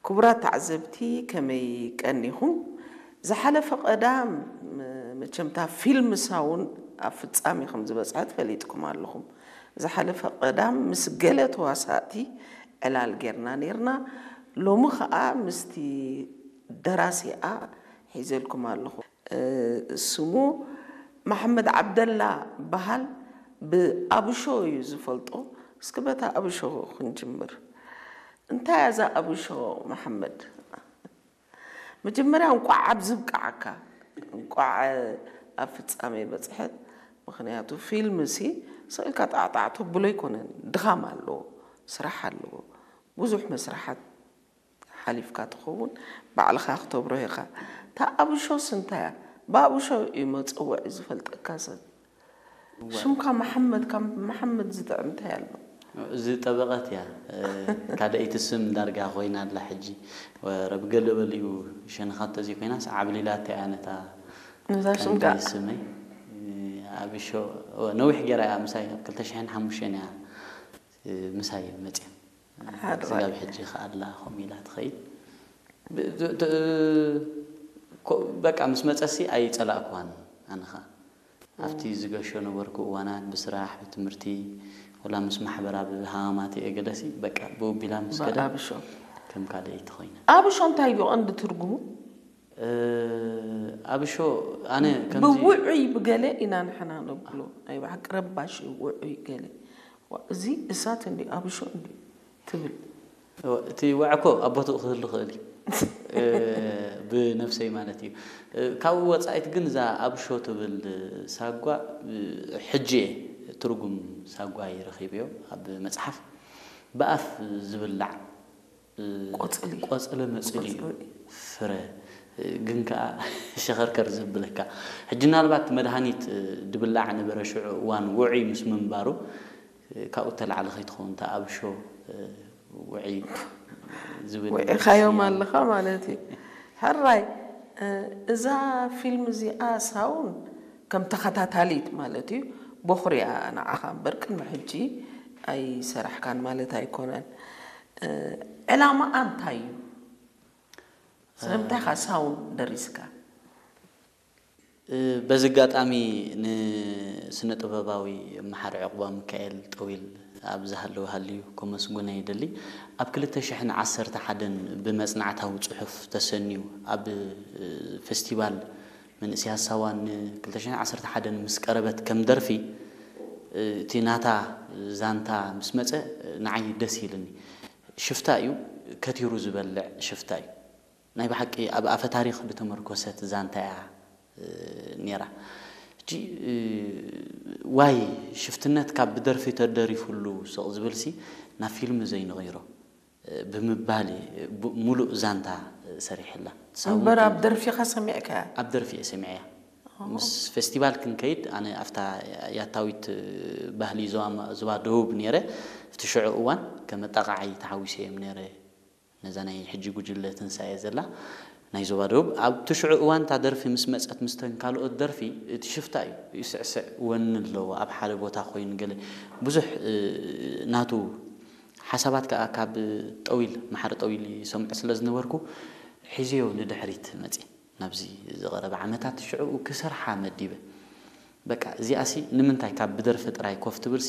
ክቡራት ተዓዘብቲ፣ ከመይ ቀኒኹም? ዝሓለፈ ቀዳም፣ መቸምታ ፊልም ሳውን ኣብ ፍጻሜ ከም ዝበጽሐት ፈሊጥኩም ኣለኹም። ዝሓለፈ ቀዳም ምስ ገለ ተዋሳእቲ ዕላል ጌርና ኔርና። ሎሚ ኸኣ ምስቲ ደራሲኣ ሒዘልኩም ኣለኹ። እ፣ ስሙ መሓመድ ዓብደላ በሃል። ብኣብሾ እዩ ዝፈልጦ። እስኪ በታ ኣብሾ ክንጅምር። እንታይ እያ እዛ ኣብሾ፣ መሓመድ? መጀመርያ እንቋዕ ኣብዚ ብቃዓካ፣ እንቋዕ ኣብ ፍጻሜ በጽሐት። ምኽንያቱ ፊልም ሲ ስቕ ኢልካ ጣዕጣዕ ተብሎ ኣይኮነን። ድኻም ኣለዎ፣ ስራሕ ኣለዎ፣ ብዙሕ መስርሓት ሓሊፍካ ትኸውን፣ ባዕልኻ ክተብርሆ ኢኻ። እታ ኣብሾስ እንታይ እያ? ብኣብሾ እዩ መጸውዒ ዝፈልጠካ ሰብ። እወ። ሽምካ መሓመድ፣ ካብ መሓመድ ዝጥዕም እንታይ ኣሎ? እዚ ጠበቐት እያ። እ፣ ካልኣይቲ ስም ዳርጋ ኮይና ኣላ ሕጂ። ወረ ብገለ በሊኡ ሸንኻት ተዘይኮይናስ ዓብሊላታ እያ ነታ ነዛ ሽም ቀንዲ ከኣ። ስመይ። እ፣ ኣብሾ፣ እወ፣ ነዊሕ ጌራ እያ ምሳይ፣ ኣብ ክልተ ሽሕን ሓሙሽተን እያ፣ እ፣ ምሳይ መጽያ። ሓደ ስጋብ ማለት ሕጂ ከኣላ ከምኡ ኢላ ትኸይድ። ብ-፣ ት-፣ ት-፣ ኮ-፣ በቃ ምስ መጸሲ ኣይጸላእኩዋን ኣነ ኸኣ። ኣብቲ ዝገሾ ነበርኩ እዋናት ብስራሕ፣ ብትምህርቲ፣ ወላ ምስ ማሕበራ ብሃማማት እየ ገለሲ፣ በቃ ብኡ ቢላ ምስ ከደ ብኣብሾ። ከም ካልኣይቲ ኮይና። ኣብሾ እንታይ እዩ ቀንዲ ትርጉሙ? እ፣ ኣብሾ ኣነ ከምዚ ብውዑይ ብገለ ኢና ንሕና ነብሎ። ናይ ብሓቂ ረባሽ እዩ፣ ውዑይ ገለ። ዋ፣ እዚ እሳት እንዲ ኣብሾ እንዲ ትብል። እወ፣ እቲ ወዐኮ ኣብ ቦትኡ ክህሉ ክእል እዩ። እ፣ ብነፍሰይ ማለት እዩ። እ፣ ካብኡ ወጻኢት ግን እዛ ኣብሾ ትብል ሳጓ፣ እ፣ ሕጂ እየ ትርጉም ሳጓ ይረኺብዮ ኣብ መጽሓፍ። ብኣፍ ዝብላዕ፣ እ፣ ቆጽሊ። ቆጽሊ መጽሊ እዩ። ቆጽሊ። ፍረ፣ እ፣ ግን ከኣ ሸኸርከር ዘብለካ። ሕጂ ምናልባት መድሃኒት፣ እ፣ ድብላዕ ነበረ ሽዑ እዋን ውዑይ ምስ ምንባሩ፣ እ፣ ካብኡ ተላዕሊ ከይትኸውን እታ ኣብሾ፣ እ፣ ውዒ ዝብል ውዒኻዮም ስያመ። ኣለኻ ማለት እዩ። ሕራይ፣ እ፣ እዛ ፊልም እዚኣ ሳውን ከም ተኸታታሊት ማለት እዩ፣ ቦኽሪ እያ ንዓኻ እምበር ቅድሚ ሕጂ ኣይሰራሕካን ማለት ኣይኮነን። እ፣ ዕላማኣ እንታይ እዩ? ስለምንታይ ኢኻ ሳውን ደሪስካ? እ፣ በዚ ኣጋጣሚ ንስነ ጥበባዊ መሓሪ ዕቑባ ሚካኤል ጠዊል ኣብ ዝሃለወ ሃልዩ ከመስግኖ ይደሊ። ኣብ ክልተ ሽሕን ዓሰርተ ሓደን ብመጽናዕታዊ ጽሑፍ ተሰንዩ ኣብ፣ እ፣ ፈስቲቫል መንእሰያት ሳዋ ን ክልተ ሽሕን ዓሰርተ ሓደን ምስ ቀረበት ከም ደርፊ፣ እ፣ እቲ ናታ ዛንታ ምስ መጸ ንዓይ ደስ ኢልኒ። ሽፍታ እዩ፣ ከቲሩ ዝበልዕ ሽፍታ እዩ። ናይ ብሓቂ ኣብ ኣፈ ታሪኽ ዝተመርኮሰት ዛንታ እያ፣ እ፣ ነይራ። ሕጂ፣ እ፣ ዋይ ሽፍትነት ካብ ብደርፊ ተደሪፉሉ ስቕ ዝብልሲ ናብ ፊልም ዘይንቕይሮ፣ እ፣ ብምባል እየ ቡ-፣ ሙሉእ ዛንታ፣ እ፣ ሰሪሐላ። እምበር ኣብ ደርፊኻ ሰሚዕካያ? ኣብ ደርፊ እየ ሰሚዐያ። ኦ። ምስ ፌስቲቫል ክንከይድ ኣነ ኣብታ ያታዊት፣ እ፣ ባህሊ ዞባ፣ ዞባ ደቡብ ነይረ። ኣብቲ ሽዑ እዋን ከም ኣጣቓዓይ ተሓዊሰ እየ ነይረ። ነዛ ናይ ሕጂ ጉጅለ ትንሳኤ ዘላ ናይ ዞባ ደቡብ፣ ኣብቲ ሽዑ እዋን እታ ደርፊ ምስ መጸት፣ ምስተን ካልኦት ደርፊ፣ እቲ ሽፍታ እዩ፣ ይስዕስዕ፣ ወኒ ኣለዎ፣ ኣብ ሓደ ቦታ ኮይኑ ገለ ብዙሕ፣ እ፣ ናቱ ሓሳባት ከኣ ካብ ጠዊል፣ መሓሪ ጠዊል ይሰምዖ ስለ ዝነበርኩ፣ ሒዘዮ ንድሕሪት መጺ። ናብዚ ዝቐረበ ዓመታት ሽዑ ክሰርሓ መዲበ። በቃ እዚኣሲ ንምንታይ ካብ ብደርፊ ጥራይ ኮፍ ትብልሲ፣